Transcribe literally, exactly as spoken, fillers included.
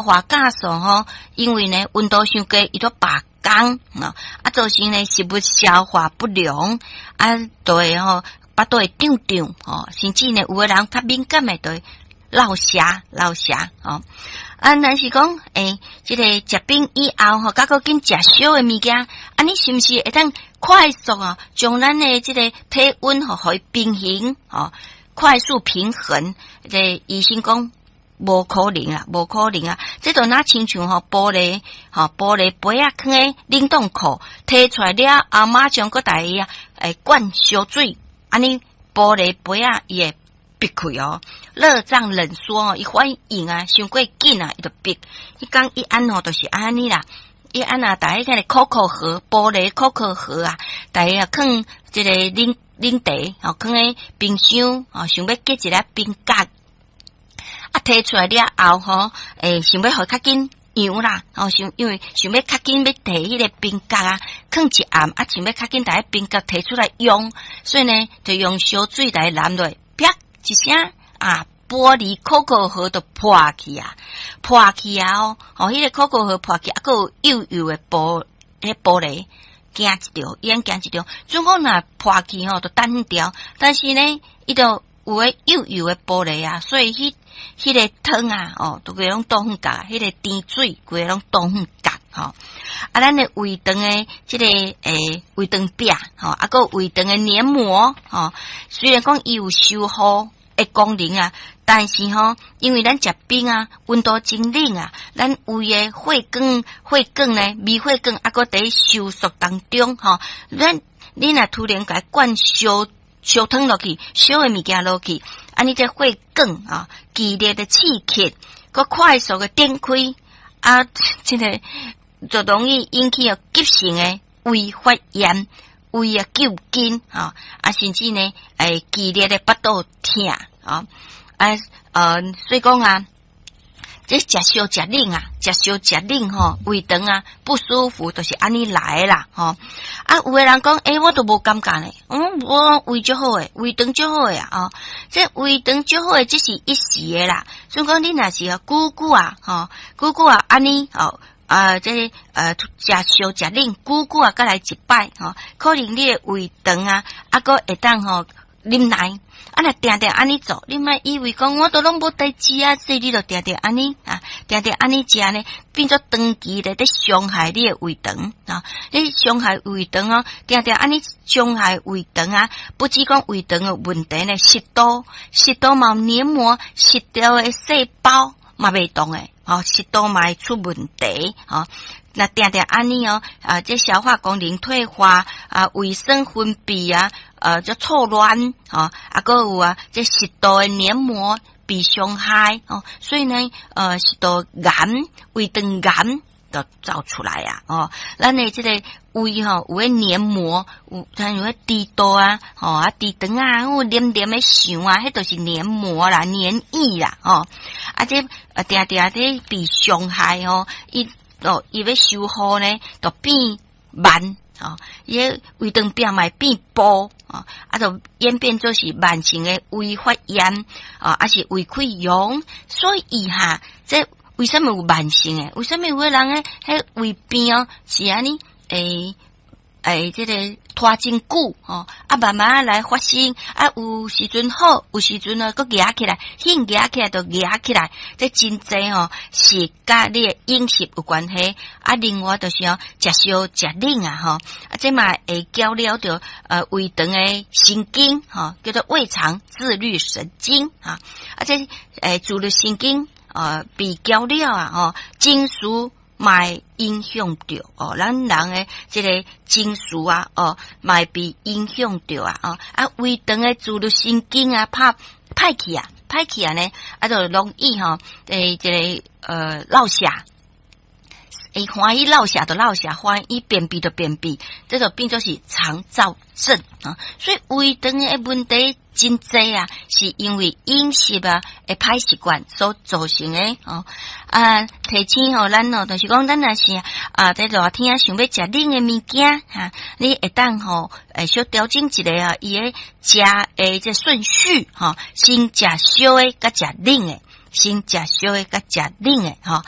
化酵素吼，因為呢溫度傷低，伊都罷工啊，造成呢食物消化不良，啊，就會吼腹肚會脹脹吼，甚至呢有的人較敏感的，就會落瀉落瀉吼。啊，若是講，欸，這個食冰以後吼，閣閣緊食燒的物件，按呢是毋是會當快速啊，將咱的這個體溫吼，予伊平衡吼，快速平衡？這個醫生講無可能啊，無可能啊！這就若親像吼玻璃吼玻璃杯仔囥佇冷凍庫，提出來了後，馬上閣共伊啊，會灌燒水，按呢玻璃杯仔伊會煏開哦。熱脹冷縮哦，伊反應啊，傷過緊啊，伊就煏。伊講伊按吼，就是按呢啦。伊按啊，逐彼個可可盒，玻璃可可盒啊，逐彼啊囥這個冷冷茶，吼，囥佇冰箱，吼，想欲結一粒冰角。啊，提出來了後吼，欸，想欲予較緊溶啦，吼，想因為想欲較緊欲提彼個冰角啊，囥一暗啊，想欲較緊共彼冰角提出來用，所以呢，就用燒水來淋落，啪一聲啊，玻璃可可盒就破去啊，破去啊哦，吼，彼個可可盒破去，啊，閣有幼幼的玻，彼玻璃驚一著，伊按驚一著，準講若破去吼，就彈掉，但是呢，伊就有彼幼幼的玻璃啊，所以彼彼個湯啊，哦，都規攏倒遠角，彼個甜水規個攏倒遠角，吼。啊，咱的胃腸的這個欸胃腸壁，吼，啊，閣胃腸的黏膜，吼，雖然講伊有修復的功能啊，但是吼，因為咱食冰啊，溫度真冷啊，咱胃的血管血管呢，微血管啊，閣佇收縮當中，吼，咱你若突然共伊灌燒燒湯落去，燒的物件落去，按呢這血管啊，劇烈的刺激，閣快速的展開，啊，這個就容易引起急性的胃發炎、胃啊糾緊，啊，啊，甚至呢，會劇烈的腹肚疼，啊，啊，呃，所以講啊，這食燒食冷啊，食燒食冷吼，胃腸啊不舒服，就是按呢來啦，吼。啊，有的人講，欸，我都無感覺呢，嗯，我胃足好的，胃腸足好的啊，哦，這胃腸足好的，只是一時的啦。所以講，你若是啊，久久啊，吼，久久啊，按呢，哦，啊，這個呃，食燒食冷，久久啊，閣來一擺，吼，可能你的胃腸啊，啊，閣會當吼忍耐。啊，若定定按呢做，你莫以為講我都攏無代誌啊，所以你就定定按呢啊，定定按呢食呢，變做長期咧佇傷害你的胃腸啊，你傷害胃腸哦，定定按呢傷害胃腸啊，不止講胃腸的問題呢，食道食道嘛有黏膜，食道的細胞嘛袂動的，哦，食道嘛會出問題，哦。若定定按呢哦，啊，這消化功能退化啊，胃酸分泌啊，呃，這錯亂，吼，啊，閣有啊，這食道的黏膜被傷害，哦，所以呢，呃，食道癌、胃腸癌都走出來啊，哦，咱的這個胃吼有彼黏膜，有像有彼豬肚啊，吼啊，豬腸啊，有黏黏的腸啊，彼都是黏膜啦、黏液啦，吼，啊，這啊，定定佇被傷害哦，伊。哦，伊欲修復呢，就變慢，哦，伊个胃腸壁嘛會變薄，哦，啊，就演變做是慢性的胃發炎，啊，抑是胃潰瘍。所以哈，這為啥物有慢性的？為啥物有的人呢？彼胃病哦，是按呢？欸欸，這個拖真久吼，啊，慢慢來發生，啊，有時陣好，有時陣呢，閣夯起來，興夯起來就夯起來，這真濟吼是佮你的飲食有關係。啊，另外就是哦，食燒食冷啊，吼，啊，這嘛會攪擾著呃胃腸的神經，吼，叫做胃腸自律神經啊，啊，這欸自律神經呃被攪了啊，吼，情緒嘛會影響著哦，咱人的這個情緒啊，哦，嘛會被影響著啊，哦，啊，胃腸的自律神經啊，拍歹去啊，歹去啊呢，啊，就容易吼，欸，這個呃落瀉，會歡喜落瀉就落瀉，歡喜便秘就便秘，這就變做是腸躁症啊。所以胃腸的問題真濟啊，是因為飲食啊的歹習慣所造成的哦。啊，提醒吼咱哦，就是講咱若是啊，佇熱天想欲食冷的物件哈，你會當吼，會小調整一下啊，伊的食的這順序吼，先食燒的，佮食冷的。先食燒的佮食冷的吼。